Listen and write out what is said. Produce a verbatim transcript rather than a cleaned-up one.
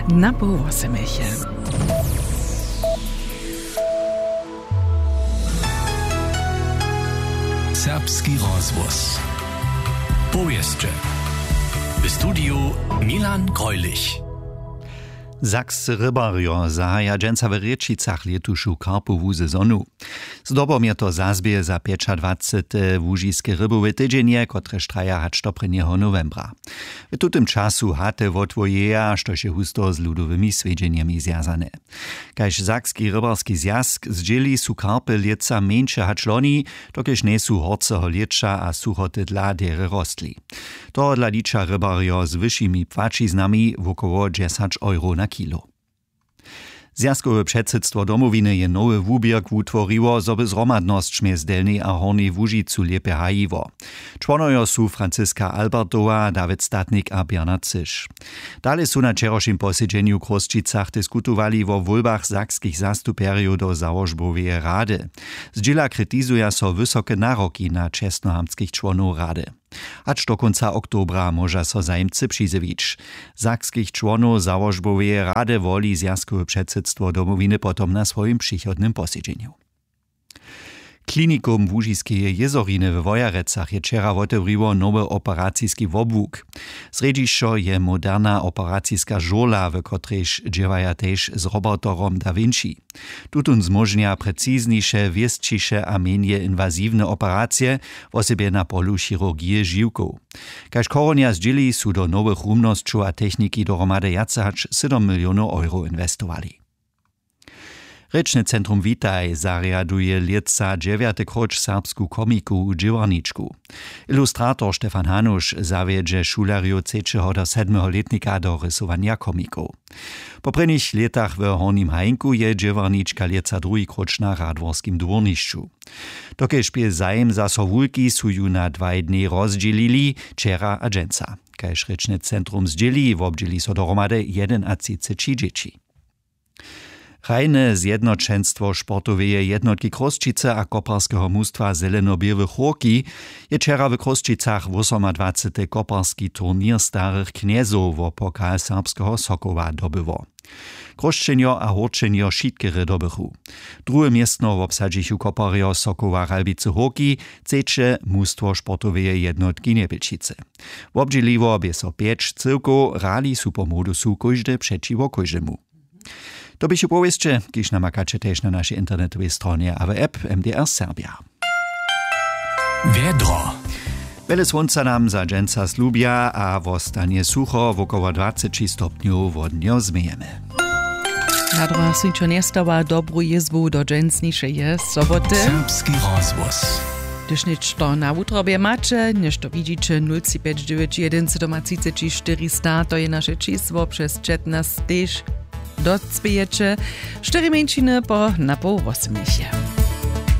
Na poł wosemeše. Serbski rozhłos. Powěsće. W studiju Milan Greulich. Sakscy rybarjo zahaja dźensa w Rěčicach lětušu karpowu sezonu. Zdobom je to zazběh za pjećadwacete łužiske rybowe tydźenje, kotrež traja hač do prěnjeho nowembra. W tutym času haty wotwojeja, štož je husto z ludowymi swjedźenjemi zwjazane. Kaž Sakski rybarski zwjazk zdźěli, su karpy lětsa mjeńše hač loni, dokelž njejsu horceho lěća a suchoty dla derje rostli. Tohodla liča rybarjo z wyšimi płaćiznami wokoło dźesać euro na kilo. Zwjazkowe předsydstwo Domowiny je nowy wuběrk wutworiło, zo by zhromadnosć mjez Delnjej a Hornjej Łužicu lěpje hajiło. Čłonojo su Franciska Albertowa, Dawid Statnik a Bernard Cyš. Dale su na wčerawšim posedźenju w Chrósćicach diskutowali wo wólbach sakskich zastupjerjow do załožboweje rady. Zdźěla kritizuja so wysoke naroki na čestnohamtskich čłonow rady. Hač do kónca oktobra móža so zajimcy přizjewić. Sakskich čłonow załožboweje rady woli zwjazkowe předsydstwo Domowiny potom na swojim přichodnym posedźenju. Klinikum Łužiskeje jězoriny we Wojerecach je wčera wotewriło nowy operaciski wobłuk. Srjedźišćo je moderna operaciska žurla, w kotrejž dźěłaja tež z roboterom Da Vinci. Tutón zmóžnja precizniše, wěsćiše a mjenje inwaziwne operacije, wosebje na polu chirurgije žiwkow. Kaž chorunja zdźěli, su do nowych rumnosćow a techniki dohromady wjace hač sydom milionow euro inwestowali. Rěčne centrum Witaj zarjaduje lětsa dźewjate króć serbsku komiku dźěłarničku. Ilustrator Stefan Hanuš zawjedźe šulerjow třećeho do sedmeho lětnika do rysowanja komikow. Po prěnich lětach w Hornim Hajnku je dźěłarnička lětsa druhi króć na radworskim dwórnišću. Dokelž bě zajim zaso wulki, su ju na dwaj dnjej rozdźělili, wčera a dźensa. Kaž rěčne centrum zdźěli, wobdźěli so dohromady jedenatřiceći dźěći. Hrajne zjednoćenstwo sportoweje jednotki Chrósćicy a koparskeho mustwa Zeleno-běłych Hórki je wčera w Chrósćicach wosomadwacety koparski turněr starych knjezow wo pokal serbskeho Sokoła dobyło. Chrósćenjo a Hórčenjo wšitkerje dobychu. Druhe městno wobsadźichu koparjo Sokoła Ralbicy Hórki, třeće mustwo sportoweje jednotki Njepilčicy. Wobdźěliło bě so pjeć cyłkow, hrali su po modusu kóždy přećiwo kóždemu. To běchu powěsće, kiž namakaće tež na našej internetowej stronje a w app M D R Serbja. Wjedro. Wjele słónca nam za dźensa slubja a wostanje sucho, wokoło dwaceći stopnjow wodnjo změjemy. Na druhach swińčo njestawa dobru jězbu do dźensnišeje soboty. Serbski rozhłos. Hdyž něšto na wutrobje maće, něšto widźiće, nul tři pjeć dźewjeć jedyn sydomatřiceći štyristo, to je naše čisło, přez četnasć tež docpějeće. Štyri mjeńšiny po na poł wosmješe.